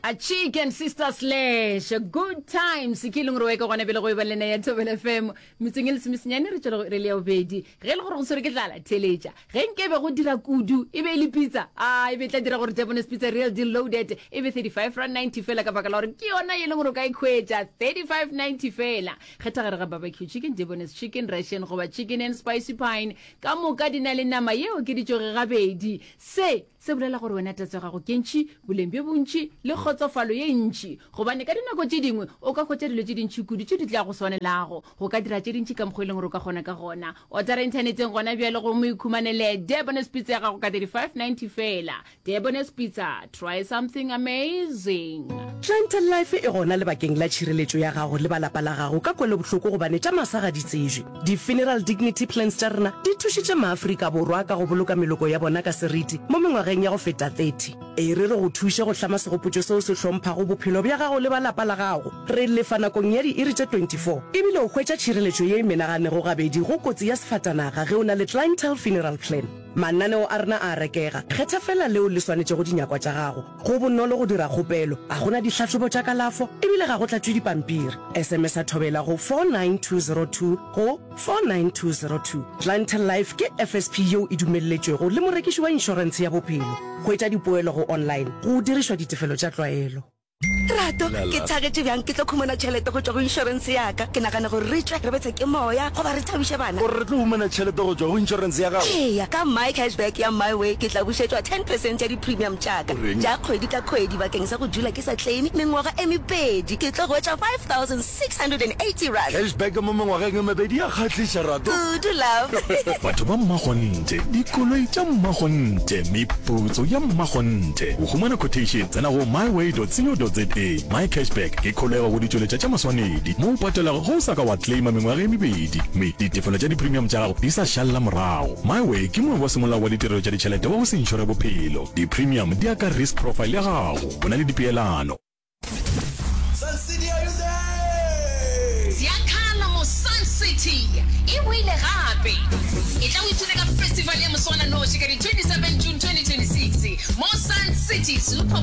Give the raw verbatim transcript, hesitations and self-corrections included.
A Chicken Sister Slash Good Times ke e leng gore wa ka gona pele go e ba lena ya Thobela F M metsong e lesomesenyane re tšwele re le ya bobedi. Ge e le gore go tshwere ke tlala, theletša ge nke be go dira kudu e be e le pizza a e be tla dira gore Debonair's Pizza Real Deal Loaded e be thirty-five rand ninety fela, ka baka la gore ke yona e leng gore o ka e khwetša thirty-five ninety fela. Kgetha gare ga barbecue chicken, Debonair's chicken, Russian goba chicken and spicy pine. Ka moka di na le nama ye okeditšwego gabedi. Se se bolela gore wena tatso ya gago ke ntšhi, boleng bjo bontšhi le kgotsofalo ye ntšhi, gobane ka dinako tše dingwe o ka hwetša dilo tše dintšhi kudu tše di tla go swanelago go ka dira tše dintšhi ka mokgwa e leng gore o ka kgona ka gona. Otara inthaneteng gona bjale gomme o ikhumanele Debonair's Pizza ya gago ka thirty-five ninety fela. Debonair's Pizza, try something amazing. Clientele Life e gona lebakeng la tšhireletšo ya gago le balapa la gago ka kwelobohloko, gobane tša masa ga di tsejwe. Di-funeral dignity plans tša rena di thušitše Maafrika Borwa ka go boloka meloko ya bona ka seriti mo mengwageng ya go feta thirty. E re re go thuše go hlama segopotšo seo se hlomphago bophelo bja gago le balapa la gago. Re lefa nakong ya diiri tše twenty-four, ebile o hwetša tšhireletšo ye e menaganego gabedi go kotsi ya sefatanaga ge o na le Clientele Funeral Plan. Mananeo a rena a rekega, kgetha fela leo le swanetšego dinyakwa tša gago. Go bonolo go dira kgopelo, a gona dihlahlobo tša kalafo, ebile ga go tlatšwe dipampiri. S M S a Thobela go four nine two zero two go four nine two zero two. Clientele Life ke F S P yeo e dumelletšwego le morekiši wa inšorentshe ya bophelo. Hwetša dipoelo go online go dirišwa ditefelo tša tlwaelo. Rato, ke thagetše bjang ke tlo khumana tšhelete go tšwa go inšorense ya ka. Ke nagana gore re tšwe re betse ke moya goba re thabiše bana. Gore re tlo humana tšhelete go tšwa go inšorense ya gago? Eya, ka My Cashback ya MiWay ke tla bušetšwa ten percent ya di-premium tša ka tša kgwedi ka kgwedi bakeng sa go dula ke sa claim mengwaga e mebedi. Ke tlo hwetša five thousand six hundred and eighty rand. Cashback mo mengwageng e mebedi ya kgahliša, Rato. Kudu, love. Batho ba mmakgonthe, dikoloi tša mmakgonthe, meputso ya mmakgonthe. Go humana quotation, tsena go myway dot co dot za. My Cashback ke kholego go ditšweletša tša maswanedi mo o patelago ge o sa ka wa claima mengwaga e mebedi mme ditefelo tša di-premium tša gago di sa šalla morago. MiWay ke moabi wa semolao wa ditirelo tša ditšhelete wa go se inšore bophelo. Di-premium di ya ka risk profile ya gago, go na le dipeelano. Sun City, are you there? Ziyakhala mo Sun City e boile gape. E tla o ipshine ka festival ya moswananoši ka di twenty-seven June twenty twenty-six mo Sun City Super.